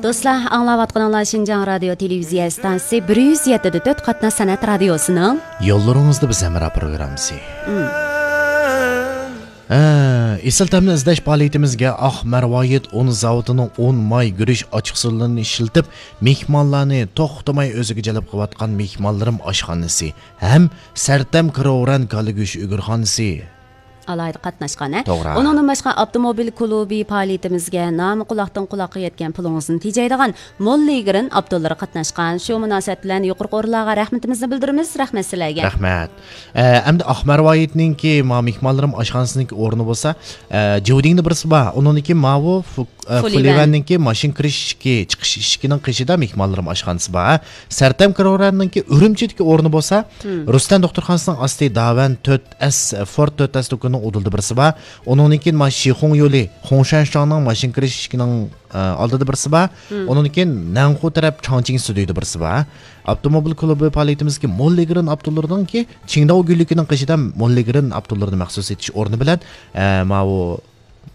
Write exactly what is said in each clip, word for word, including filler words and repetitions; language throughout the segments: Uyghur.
دوستلار، ئاڭلاۋاتقىنىڭلار شىنجاڭ رادىيو تېلېۋىزىيە ئىستانسىسى بىر يۈز يەتتە دە تۆت قاتناش سەنئەت رادىيوسىنىڭ يوللىرىڭىزدا بىز ھەمراھ پروگراممىسى. ھە، ئېسىل تەمنى ئىزدەش پائالىيىتىمىزگە ئاق مەرۋايىت ئۇن زاۋۇتىنىڭ ئۇن، ماي، گۈرۈچ ئاچچىقسۇلىرىنى ئىشلىتىپ، مېھمانلارنى توختىماي ئۆزىگە جەلپ قىلىۋاتقان مېھمانلىرىم ئاشخانىسى ھەم سەرتەم كىروران كالا گۆشى ئۆگرىخانىسى ئالاھىدە قاتناشقان، ھە؟ توغرا. ئۇنىڭدىن باشقا، ئاپتوموبىل كۇلۇبى پائالىيىتىمىزگە نامى قۇلاقتىن قۇلاققا يەتكەن پۇلىڭىزنى تېجەيدىغان موللىگرىن ئاپتولىرى قاتناشقان. شۇ مۇناسىۋەت بىلەن يۇقىرىقى ئورۇنلارغا رەھمىتىمىزنى بىلدۈرىمىز. رەھمەت سىلەرگە. رەھمەت. ئە، ئەمدى ئاق مەرۋايىتنىڭكى ما مېھمانلىرىم ئاشخانىسىنىڭكى ئورنى بولسا، ئە، جيۇدىڭدا بىرسى بار. ئۇنىڭدىكى ماۋۇ فۇ-، ئە، فۇلىۋەن. فۇلىۋەننىڭكى ماشىنا كىرىش ئىشىكى، چىقىش ئىشىكىنىڭ قېشىدا مېھمانلىرىم ئاشخانىسى بار. سەرتەم كىروراننىڭكى ئۈرۈمچىدىكى ئورنى بولسا، رۇستەم دوختۇرخانىسىنىڭ ئاستى داۋەن تۆت ئەس، فورد تۆت ئەس دۇكىنىنىڭ ئۇدۇلىدا بىرسى بار. ئۇنىڭدىن كېيىن ما شىخۇڭ يولى، خۇڭشەنشاڭنىڭ ماشىنا كىرىش ئىشىكىنىڭ، ئە، ئالدىدا بىرسى بار. ئۇنىڭدىن كېيىن نەنخۇ تەرەپ چاڭچىڭ ستۇدىيىدا بىرسى بار. ئاپتوموبىل كۇلۇبى پائالىيىتىمىزدىكى موللىگرىن ئاپتولىرىنىڭكى چىڭداۋ گۈللۈكىنىڭ قېشىدا موللىگرىن ئاپتولىرىنى مەخسۇس سېتىش ئورنى بىلەن، ئە، ماۋۇ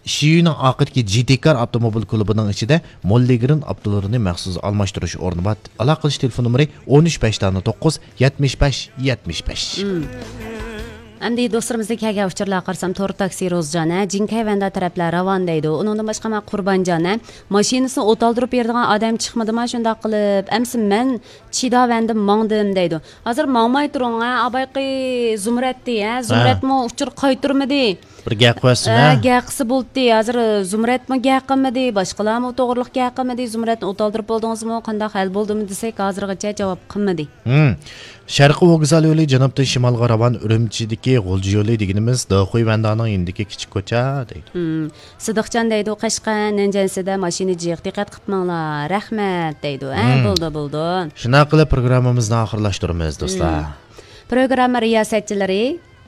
شىيۈنىڭ ئارقىدىكى جىتىكار ئاپتوموبىل كۇلۇبىنىڭ ئىچىدە موللىگرىن ئاپتولىرىنى مەخسۇس ئالماشتۇرۇش ئورنى بار. ئالاقە قىلىش تېلېفون نومۇرى ئون ئۈچ بەش دانە توققۇز، يەتمىش بەش، يەتمىش بەش. ئەمدى دوستلىرىمىزدىن كەلگەن ئۇچۇرلارغا قارىسام، تور تاكسى روزجان، ھە، جىنكەي ۋەندە تەرەپلەر راۋان دەيدۇ. ئۇنىڭدىن باشقا، مانا قۇربانجان، ھە، ماشىنىسىنى ئوت ئالدۇرۇپ بېرىدىغان ئادەم چىقمىدىما شۇنداق قىلىپ؟ ئەمسە مەن چىدا ۋەندىن ماڭدىم دەيدۇ. ھازىر ماڭماي تۇرۇڭ، ھە، ئابايقى زۇمرەتتى، ھە، زۇمرەتمۇ ئۇچۇر قايتۇرمىدى. بىر گەپ قىلسۇن، ھە، ھە؟ گەپ قىلسا بولدى. ھازىر زۇمرەتمۇ گەپ قىلمىدى، باشقىلارمۇ توغرىلىق گەپ قىلمىدى. زۇمرەتنى ئوت ئالدۇرۇپ بولدىڭىزمۇ، قانداق ھەل بولدىمۇ دېسەك، ھازىرغىچە جاۋاب قىلمىدى. ھىم. شەرقىي ۋوگزال يولى جەنۇبتىن شىمالغا راۋان، ئۈرۈمچىدىكى غۇلجا يولى دېگىنىمىز داخۇي ۋەندانىڭ يېنىدىكى كىچىك كوچا دەيدۇ. ھىم. سىدىقجان دەيدۇ، قەشقەر نەنجەنسىدە ماشىنا جىق، دىققەت قىپ ماڭلا، رەھمەت دەيدۇ. ھە، ھىم. بولدى، بولدى. شۇنداق قىلىپ پروگراممىمىزنى ئاخىرلاشتۇرىمىز، دوستلار. ھىم. پروگرامما رىياسەتچىلىرى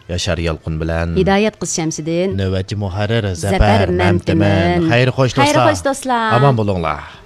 ياشار يالقۇن بىلەن ھىدايەت قىز شەمشىدىن. نۆۋەتچى مۇھەررىر زەپەر زەپەر مەمتىمىن. مەمتىمىن. خەير خوش، دوستلار. خەير خوش، دوستلار. ئامان بولۇڭلار.